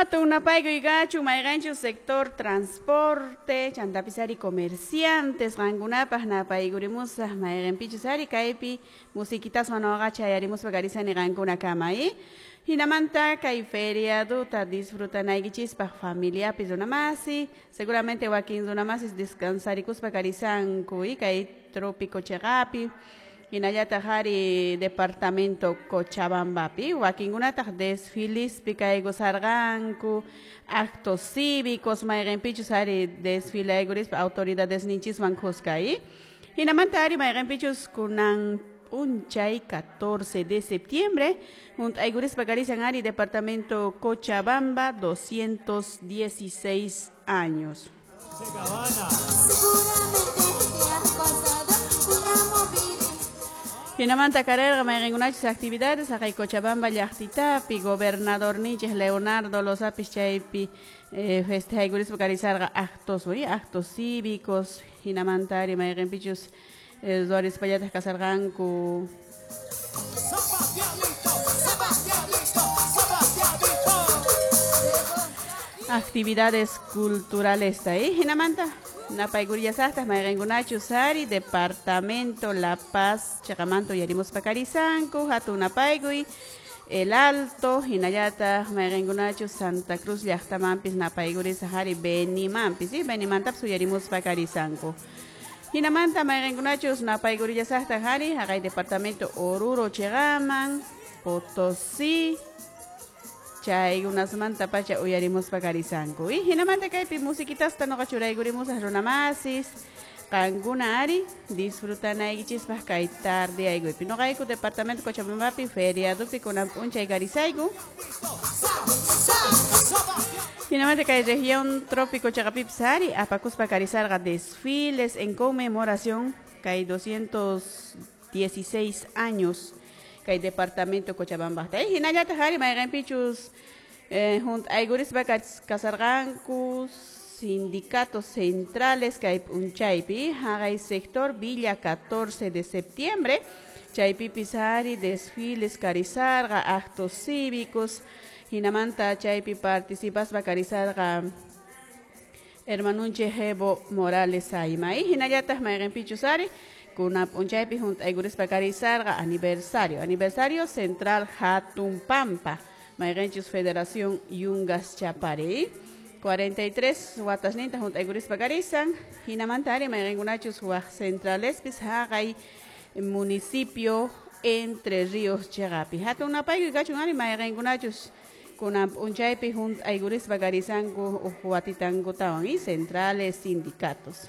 Hatun napaykuy kachun mayqanchus sector transporte chantapis ari comerciantes qankunapaq napaykurimusaq mayqanpichus ari kaypi musiquitaswan nuqa chayarimuspa karisani qankunakama Hinamanta kay feriaduta disfrutanaykichispaq familiapi runamasi seguramente wakin runamasis descansarikuspa karisanku kay trópico chiqapi hinallataq ari departamento Cochabambapi wakinkunataq desfilispi kaykusarqanku actos cívicos mayqinpichus ari desfilaykurispa autoridades ninchiswan kuska hinamanta ari mayqinpichus kunan p'unchay 14 de septiembre hunt'aykurispa karisan ari departamento Cochabamba 216 años. Hinamanta karerqa mayqinkunachus actividades haqay Cochabamba llaqtitapi gobernador ninchik Leonardo Lozapis chaypi festejaykurispa karisarqa actos actos cívicos hinamanta ari mayqinpichus ruwarispallataq kasarqanku. Actividades culturales hinamanta napaykurillasaqtaq mayqinkunachus ari departamento La Paz chiqamanta uyarimuspa karisanku hatun napaykuy El Alto hinallataq mayqinkunachus Santa Cruz llaqtamanpis napaykurisaq ari Benimanpis Benimantapas uyarimuspa karisanku. Hinamanta mayqinkunachus napaykurillasaqtaq ari haqay departamento Oruro chiqaman Potosí chaykunasmanta pacha uyarimuspa karisanku hinamanta kaypi musiquitasta nuqa churaykurimusaq runamasis qankuna ari disfrutanaykichispaq kay tarde aykuypi nuqayku departamento Cochabambapi feriadupi kunan p'unchay karisayku. Hinamanta kay región trópico chiqapipis ari apakuspa karisarqa desfiles en conmemoración kay 216 años kay departamento Cochabamba. Hinallataq ari mayqinpichus hunt'aykurispa kasarqanku sindicatos centrales kay p'unchaypi haqay sector Villa 14 de septiembre chaypipis ari desfiles karisarqa actos cívicos hinamanta chaypi participaspa karisarqa hermanunchik Evo Morales Ayma hinallataq mayqinpichus ari kunan p'unchaypi hunt'aykurispa karisarqa aniversario central Hatun Pampa mayqinchus Federación Yungas Chapari 43 watasninta hunt'aykurispa karisan hinamanta ari mayqinkunachus waq centralespis haqay municipio Entre Ríos chiqapi hatun napaykuy kachun ari mayqinkunachus kunan p'unchaypi hunt'aykurispa karisanku uq watitankutawan centrales sindicatos.